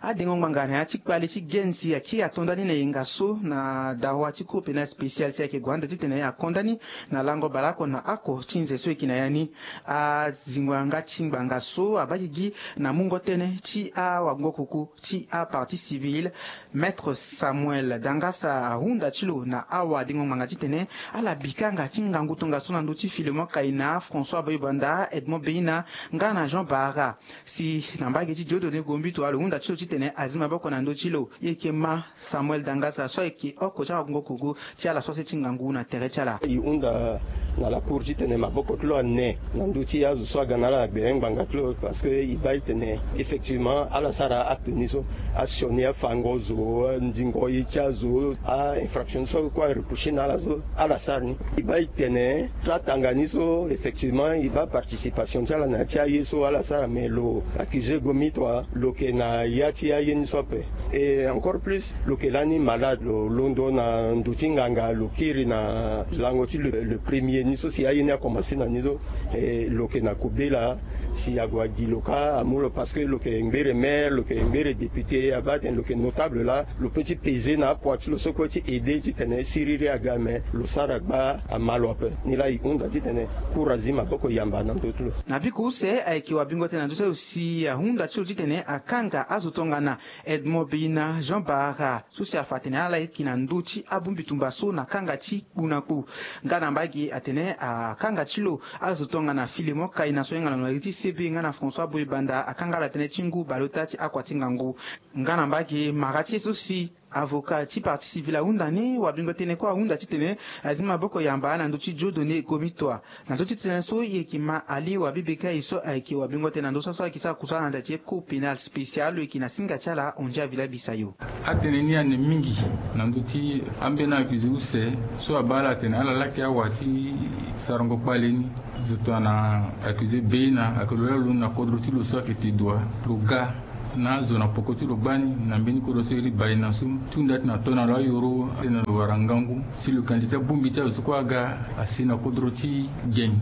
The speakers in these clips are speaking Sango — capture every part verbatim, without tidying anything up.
Adengo ngbanga na ya ti kpale ti Gen si akiri ato ndani na yenga so na dawa ti cour pénal spécial si ayeke gue ande titene akonda ni na lango baleoko na oko ti nze so e yeke na ya ni. Azingo yanga ti ngbanga so abaa gigi na mungo tënë ti awango-kuku ti apartie civile, Maître Samuel Dangasa ahunda ti lo na awadengo ngbanga titene ala bi kanga ti ngangu tongaso na ndö ti Filemon Kaina, François Boy-Banda, Edmond Beina nga na Jean Bahara. Si na mbage ti Dieudonné Gombito alo hunda ti lo titene azi maboko na ndö ti lo. E yeke ma Samuel Dangasa so ayeke oko ti awango-kuku ti ala so ase ti ngangu na tere ti ala. E hunda na la cour titene maboko ti lo ane na ndö ti azo so aga na ala na gbere ngbanga ti lo, parce que e baa e tene effectivement ala sara acte ni so, asioni afango zo, andingo ye ti azo, a-infraction so kue areprocher na ala so ala sara ni. E baa e tene tra tanga ni so, effectivement e baa participation ti ala na ya ti aye so ala sara, mais lo accusé Gombito lo yeke na ya ti aye ni so ape. Et encore plus, lo yeke lani malade, lo londo na ndo ti nganga, lo kiri na lango ti le, le premier ni so si aye ni akomanse na ni so. Et lo yeke na kobela si ague agi lo kâ amu lo, parce que lo yeke ngbere maire, lo yeke ngbere député, abaa atene lo yeke notable laa, lo peut ti peser na apoids ti lo so kue ti aider titene siriri aga, mais lo sara gbaa ama lo ape. Ni laa e hunda titene cour azi maboko yamba na ndö ti lo. Na biko use ayeke wabingo tënë na ndö ti azo si ahunda ti lo titene akanga azo tongana Edmond Beina, Jean Bahara, so si afa atene ala yeke na ndö ti abongbi tumba so na kanga ti kpu na kpu. Nga na mbage atene akanga ti lo azo tongana Filemon Kaina so ahinga na lo na iri ti C B nga na François Boy-Banda, akanga ala tënë ti ngu baleota ti akua ti ngangu. Nga na mbage mara ti e so si avocat ti partie civile ahunda ni, wabingo tënë kue ahunda titene azi maboko yamba na ndö ti Dieudonné Gombito. Na ndö ti tënë so e yeke ma Ali Wabi Bekaï so ayeke wabingo tënë na ndö so aso ayeke sara kusala na da ti cour pénal spécial, lo yeke na singa ti ala Ondia Villa Bisayo. Atënë ni ane mingi na ndö ti ambeni accusé use so abaa ala atene ala laki awa ti sarango kpale ni. Zo tongana accusé Beina ayeke lo laa lo londo na kodro ti lo so ayeke Tedoua, lo ga na azo na poko ti lo gbani na mbeni kodro so iri Baina so, ti hunda ti na to na lo ayoro atene lo wara ngangu. Si lo yeke na li ti abongbi ti azo so kue aga asi na kodro ti Geng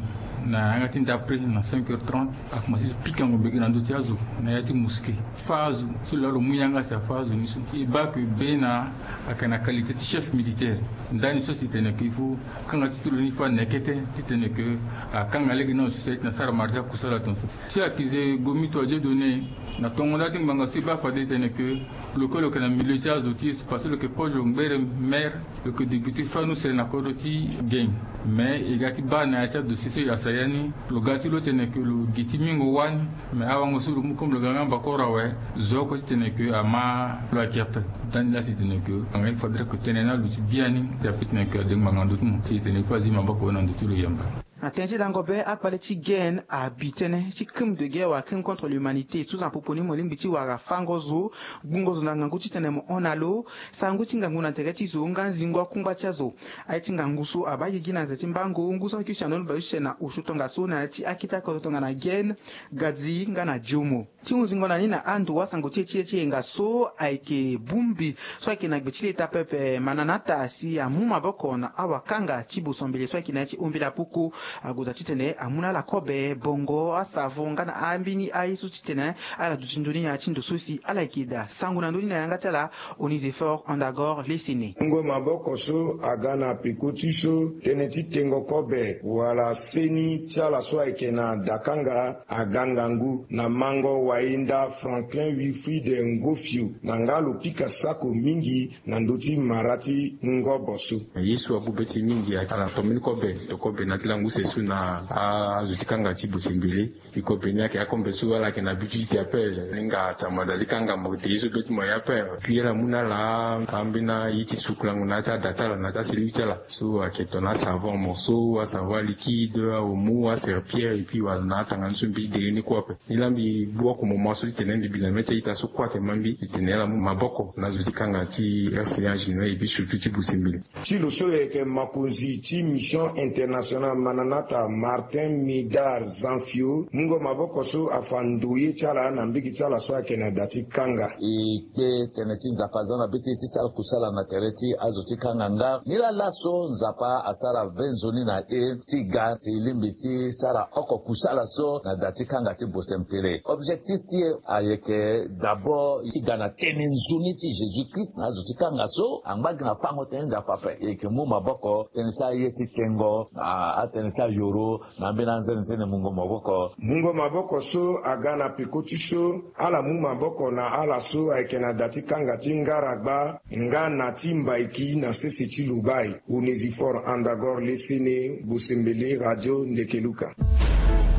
na yanga ti ndapre na cinq heures trente, akomanse ti pikango mbege na ndö ti azo na ya ti mosquée. Fâ azo so lo laa lo mu yanga si afâ azo ni so. E baa ke Beina ayeke na qualité ti chef militaire. Ndani so si tene ke il faut kanga ti ti lo ni fâ nekete titene ke akanga lege na azo so si aye ti na sara mara ti akusala tongaso. Ti accusé Gombito Dieudonné, na tongo nda ti ngbanga so e baa fade tene ke lo kue lo yeke na milieu ti azo ti e so, parce que lo yeke kozo ngbere maire, lo yeke député fani use na kodro ti Geng. Mais e ga ti baa na ya ti adossier so e yasa ya ni, lo ga ti lo tene ke lo gi ti mingo wâ ni. Mais awango so lo mu comme lo ga nga mbakoro awe, zo oko titene ke ama lo ayeke ape. Ndani laa si tene ke anga il faudrait ke tënë ni aluti biani, si ape titene ke ade ngbanga na ndö ti mo si e tene il faut azi maboko na ndö ti lo yamba. Na tënë ti dango be, akpale ti Gen abi tënë ti crime de guerre wala crime contre l'humanité so na popo ni mo lingbi ti wara fango zo, gbungo zo na ngangu titene mo hon na lo, sarango ti ngangu na tere ti zo nga zingo akungba ti azo. Aye ti ngangu so abaa gigi na nze ti mbango ngu so ayeke use na ndoni bale use na osio tongaso na ya ti akete akodro tongana Gen, Gadzi nga na Diomo. Ti hunzingo na ni na ando asango ti e ti e ti yenga so ayeke bongbi so ayeke na gbe ti leta pepe Mananata si amu maboko na awakanga ti boso mbele so ayeke na ya ti ombela poko. Ague daa titene amu na ala kobe, bongo, asavon nga na ambeni aye so titene ala duti nzoni na ya ti ndo so si ala yeke daa sango na ndö ni na yanga ti ala. Onise fort Andagor Lesene. Mungo maboko so aga na peko ti so tënë ti tengo kobe wala seni ti ala so ayeke na dakanga aga ngangu na mango wainda Franklin Wilfrid Ngofio na nga lo pika sako mingi na ndö ti mara ti ngobo so. Ye so abu be ti mingi ala na tombeni kobe, to kobe na ti lango use so na azo ti kanga ti bosembele. Iko be ni ayeke akombe so ala yeke na bi ti ti appel. Ni nga atama da ti kanga mo te ye so be ti mo ye ape. Puis ala mu na ala ambeni aye ti sukulango na ya ti ada ti ala na ya ti asilivi ti ala. So ayeke tongana asavon morceau, asavon aliquide, aomo, aserpillère, et puis wala na atanga ni so mbi ti dere ni kue ape. Ni laa mbi bu oko moment so ti tene mbi bi na mê ti a-ita so kue ayeke ma mbi ti tene ala mu maboko na azo ti kanga ti R C A en général et puis surtout ti bosembele. Ti lo so lo yeke mokonzi ti Mission Internationale Mananata, Martin Midar Zanfio, mungo maboko so afa ndoye ti ala na mbege ti ala so ayeke na da ti kanga. E kpe tene ti Nzapa aza na be ti e ti sara kusala na tere ti azo ti kanga nga. Ni laa laso Nzapa asara be nzoni na e ti ga si e lingbi ti sara oko kusala so na da ti kanga ti Bosem Tere. Objectif Ti e ayeke d'abord ti ga na tënë nzoni ti Jésus Christ na azo ti kanga so angba gi na fango tënë Nzapa ape. E yeke mu maboko tënë ti aye ti tengo na atënë ti ayoro na ambeni anzene ti tene mungo maboko. Mungo maboko so aga na peko ti so ala mu maboko na ala so ayeke na da ti kanga ti ngaragba nga na ti mbaiki na sese ti lubai. Onésiphore Andagor Lesene, Bosembele, Radio Ndekeluka.